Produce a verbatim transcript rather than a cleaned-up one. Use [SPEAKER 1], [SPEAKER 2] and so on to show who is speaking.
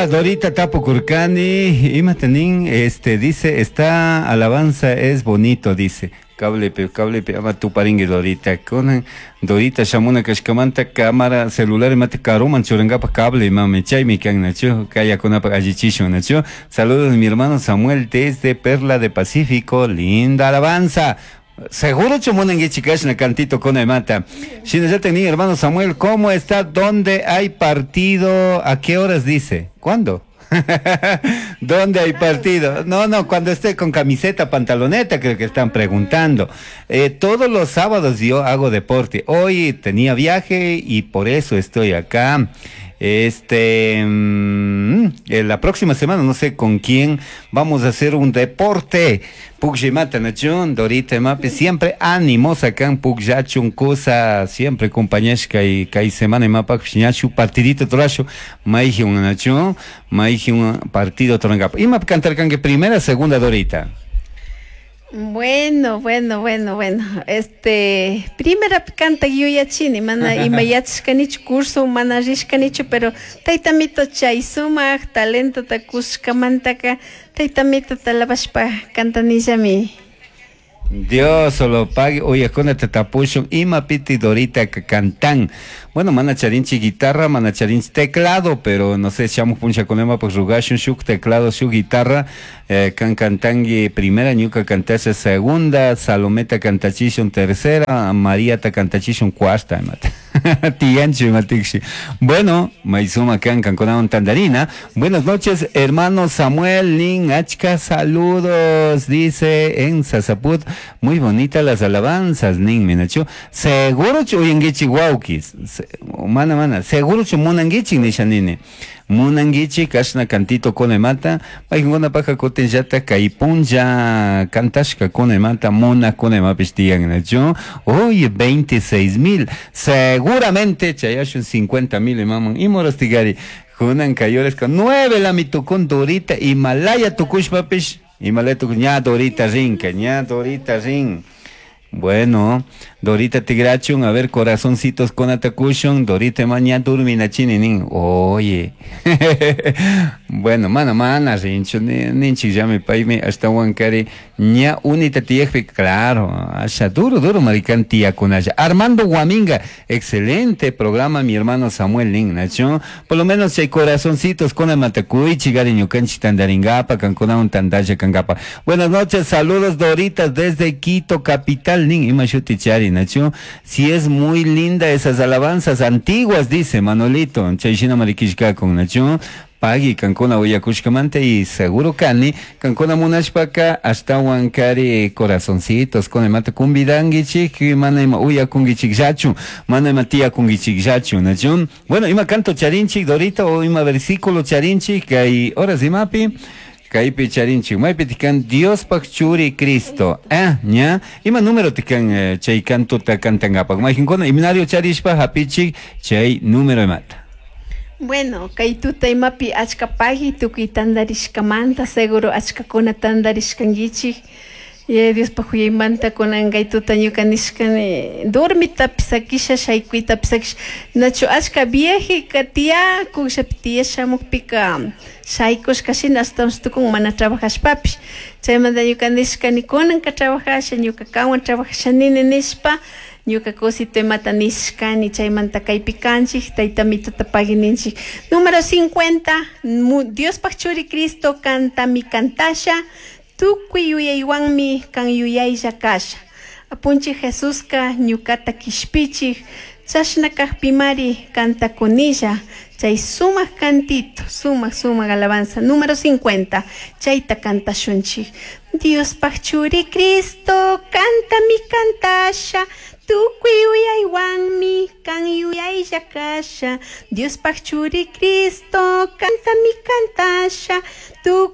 [SPEAKER 1] Dorita, Dorita tapukurkani, imata nin, este, dice, esta alabanza es bonito, dice. Cablepi, cablepi, ama tuparingi Dorita. Kunan Dorita shamuna kashkamanta cámara celular imata karuman churankapaj cable mami chaymi kan nachu kayakunapaj allichishun nachu. Saludos mi hermano Samuel desde Perla de Pacífico, linda alabanza. Seguro munankichik kashna cantito con mata. Shinallatak nin hermano Samuel, ¿cómo está? ¿Dónde hay partido? ¿A qué horas dice? ¿Cuándo? ¿Dónde hay partido? No, no, cuando esté con camiseta, pantaloneta, creo que están preguntando. Eh, todos los sábados yo hago deporte. Hoy tenía viaje y por eso estoy acá. Este, mm, en la próxima semana, no sé con quién, vamos a hacer un deporte. Pukllmata nachun, Dorita Mapi, siempre ánimos acá en Pukllachun, cosa, siempre compañesca y kay semana imapak ñachu partidito torashu, mayjun nachun, mayjun partido torangapa. Ima cantar que primera, segunda Dorita.
[SPEAKER 2] Bueno, bueno, bueno, bueno. Este, primera canta yuyachini, mana ima yachashkanichu curso mana rishkanichu, pero taytamito chay sumaq talentota kushkamantaka taytamito alabashpa cantanillami.
[SPEAKER 1] Dios solo pague, oye, con tapushun, ima piti Dorita que cantan. Bueno, mana charinchi guitarra, mana charinchi teclado, pero no sé, shamuj punchakunema pues rugashun shuk teclado, shuk guitarra, eh, kan cantangui primera, ñuka cantase segunda, Salometa cantachishun tercera, María ta cantachishun cuarta, imata. Tiyanchu imatikshi. Bueno, maizuma kan kankunawan tandarina. Buenas noches, hermano Samuel Nin Achka, saludos, dice en Sasaput. Muy bonitas las alabanzas, nin minachu. Seguro uyanguichi wawkis. Mana mana, seguro chu munanguichi nisha nini. Munanguichi kashna cantito kunemata, paykuna paja kutinllata kay punlla kantashka kunemata muna kunemapish tiyan nachu. Oye, veintiséis mil, seguramente chayashun cincuenta mil imaman imorostigari. Kunan kayores con nueve la mitukun Dorita Himalaya tukushpapish, Himalaya tukush, ña Dorita rinka, ña Dorita rin. Bueno, Dorita Tigrachun, a ver, corazoncitos con atacushun, Dorita mañana durmina chini nin, oye. Bueno, mana, mana, rinchu, ninchi ya me paime hasta huancari, ña unita tiyekpi, claro, asha, duro, duro, maricán tía kunaya. Armando Guaminga, excelente programa, mi hermano Samuel Nin, nacho. Por lo menos hay corazoncitos con el matacuichi, gariño, canchi tandaringapa, cancuna un tandaya cangapa. Buenas noches, saludos Doritas desde Quito, capital, nin, imashuti chari, nacho. Si es muy linda esas alabanzas antiguas, dice Manolito, chayshina mariquishka con nacho. Pagui kankuna uyakushkamanta y seguro kani kankuna munashpaka hasta huancari corazoncitos con el mate kumbidanguichik mana ima uyakunguichik yachu mana ima tiyakunguichik yachu nachu. Bueno, ima canto charinchik Dorita o ima versículo charinchik kay horas imapi kaypi charinchik maypi tikan Diospaj churi Cristo eh ña ima número tikan eh, chay canto ta cantangapak mayjinkuna himnario charishpa hapichik chay número imata.
[SPEAKER 2] Bueno, kay tuta imapi achka pagi tukuy tandarishkamanta seguro achkakuna tandarishkankichik. Y Diospaj huyaymanta kunan kay tuta ñuka nishkani dormitapish sakisha shaykuytapish sakisha nachu achka viejika tiyakun shapi tiyashamukpika shaykushka shina ashtawanshi tukun mana trabajashpapish chaymanta ñuka nishkani kunanka trabajasha ñuka kanwan trabajasha nini nishpa ñuka cosito imata nishkani chaymanta kaypi kanchik taytamitota pagui ninchik. Número cincuenta, Diospaj churi Cristo cantami cantasha tukuy yuyaywanmi kan yuyaylla kasha. Apunchik Jesuska ñukata kishpichik chashna kajpimari kantakunilla chay sumaq cantito, sumaq sumaq alabanza número cincuenta, chayta kantashunchik. Diospaj churi Cristo cantami cantasha tukuy yuyaywanmi kan yuyaylla kasha. Diospaj churi Cristo cantami cantasha tukuy